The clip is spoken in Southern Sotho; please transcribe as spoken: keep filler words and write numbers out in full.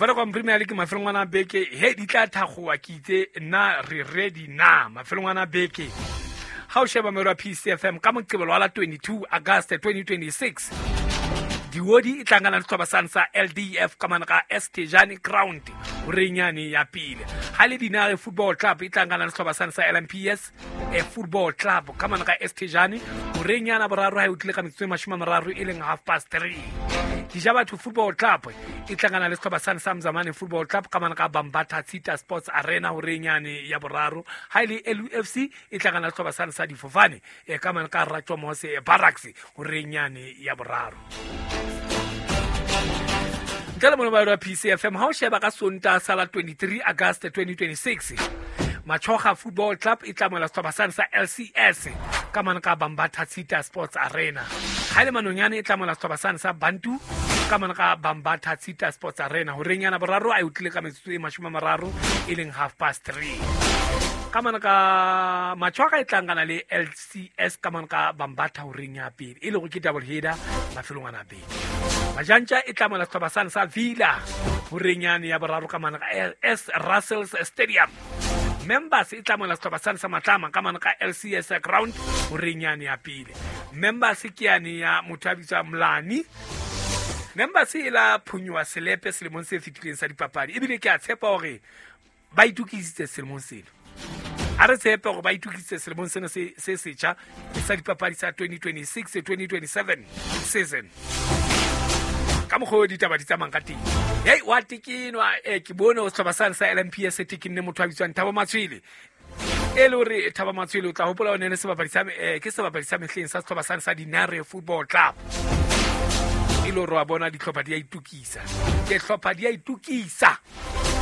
Vodacom Premier League mafelong ana beke he di tla thakgowa ke itse nna re ready na mafelong ana beke. Ha o sheba mero ya P C F M ka Moqebelo wa la twenty-two August twenty twenty-six Diodi e tlangana le sehlopha sane sa L D F ka mane ka S Tejane Ground horenyane ya pele. Ha le Dinare Football Club e tlangana le sehlopha sane sa L M P S e Football Club ka mane ka S Tejane horenyana boraro ha e utlile ka metsotso e mashome a mararo e leng half past three. Dijabatho Football Club e tlangana le sehlopha sane sa Mzamane Football Club ka mane ka Bambatha Tshita Sports Arena horenyane ya boraro. Ha le L U F C e tlangana le sehlopha sane sa Difofane e ka mane ka Ratjomose Barracks horenyane ya boraro. Ntle le mobile wa P C F M ha o sheba ka Sontaha sa la twenty-three August twenty twenty-six Machoga Football Club e tlamola sehlopha sane sa L C S ka mane ka Bambatha Tshita Sports Arena. Ha le Manonyane e tlamola sehlopha sane sa Bantu ka mane ka Bambatha Tshita Sports Arena horenyana boraro a e utlile ka metsotso e mashome a mararo e leng half past three. Ka mane ka Machoga e tlangana le L C S ka mane ka Bambatha horeng ya pele e lego ke double header mafelong ana beke. Majantja e tlamola sehlopha sane sa Villa horenyane ya boraro ka mane ka S Russells Stadium. Members e tlamola sehlopha sane sa Matlama ka mane ka L C S Ground horenyane ya pele. Members ke yane ya motho a bitswa Mlani. Members e la phunyoa selepe selemong se fetileng sa dipapadi ebile ke a tshepa hore ba itokisitse selemong sena. A re tshepe hore ba itokisitse selemong sena se se setjha sa dipapadi sa twenty twenty-six twenty twenty-seven season. Ka mokgwa o ditaba di tsamayang ka teng. Hei wa tekenwa eh ke bone o sehlopha sane sa L M P S tekinne motho a bitswang Thabo Matshwele. E le hore Thabo Matshwele o tla hopola o ne le sebapadi sa eh ke sebapadi sa mehleng sa sehlopha sane sa Dinare Football Club. E le hore wa bona dihlopha di a itokisa. Ke hlopha di a itokisa.